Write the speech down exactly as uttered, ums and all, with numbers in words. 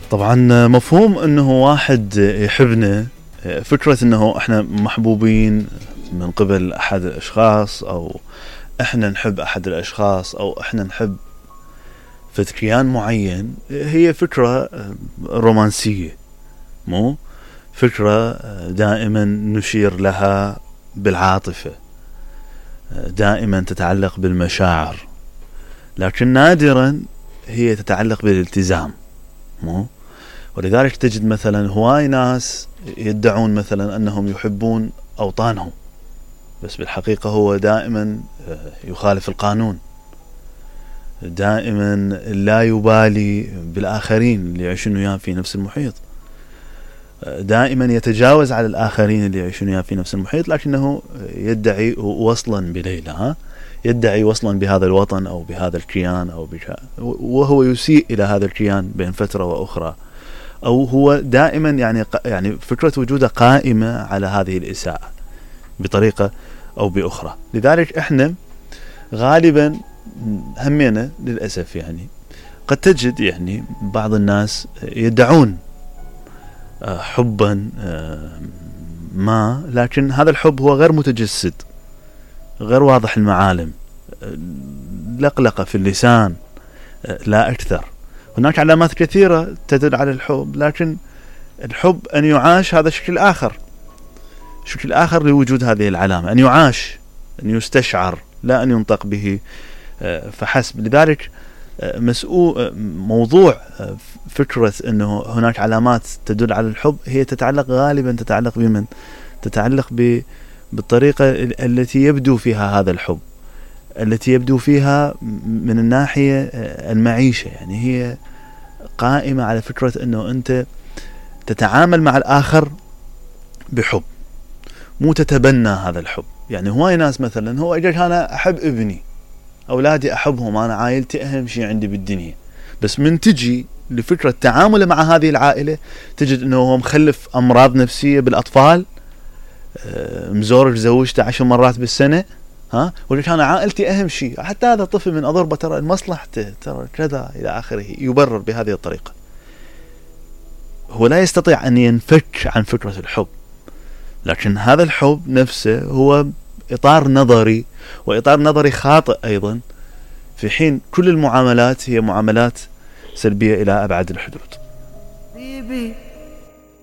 طبعا مفهوم انه واحد يحبنا، فكرة انه احنا محبوبين من قبل احد الاشخاص، او احنا نحب احد الاشخاص، او احنا نحب كيان معين، هي فكرة رومانسية، مو فكرة دائما نشير لها بالعاطفة، دائما تتعلق بالمشاعر، لكن نادرا هي تتعلق بالالتزام، مو ولذلك تجد مثلا هواي ناس يدعون مثلا أنهم يحبون أوطانهم، بس بالحقيقة هو دائما يخالف القانون، دائما لا يبالي بالآخرين اللي يعيشون وياه في نفس المحيط، دائما يتجاوز على الآخرين اللي يعيشون وياه في نفس المحيط، لكنه يدعي وصلا بليلى، ها يدعي وصلا بهذا الوطن أو بهذا الكيان، أو بك... وهو يسيء إلى هذا الكيان بين فترة وأخرى، أو هو دائما يعني يعني فكرة وجوده قائمة على هذه الإساءة بطريقة أو بأخرى. لذلك إحنا غالبا همينا للأسف يعني قد تجد يعني بعض الناس يدعون حبا ما، لكن هذا الحب هو غير متجسد، غير واضح المعالم، لقلقة في اللسان لا أكثر. هناك علامات كثيرة تدل على الحب، لكن الحب أن يعاش هذا شكل آخر، شكل آخر لوجود هذه العلامة، أن يعاش، أن يستشعر، لا أن ينطق به فحسب. لذلك مسؤول موضوع فكرة أنه هناك علامات تدل على الحب هي تتعلق غالبا تتعلق بمن؟ تتعلق ب بالطريقة التي يبدو فيها هذا الحب، التي يبدو فيها من الناحية المعيشة، يعني هي قائمة على فكرة أنه أنت تتعامل مع الآخر بحب، مو تتبنى هذا الحب. يعني هواي ناس مثلا هو أجل أنا أحب ابني، أولادي أحبهم، أنا عائلتي أهم شيء عندي بالدنيا، بس من تجي لفكرة تعامله مع هذه العائلة تجد أنه هو مخلف أمراض نفسية بالأطفال، مزورج زوجته عشر مرات بالسنة، ها ولك أنا عائلتي أهم شيء، حتى هذا الطفل من أضربه ترى مصلحته ترى كذا إلى آخره، يبرر بهذه الطريقة. هو لا يستطيع أن ينفك عن فكرة الحب، لكن هذا الحب نفسه هو إطار نظري، وإطار نظري خاطئ أيضا، في حين كل المعاملات هي معاملات سلبية إلى أبعد الحدود.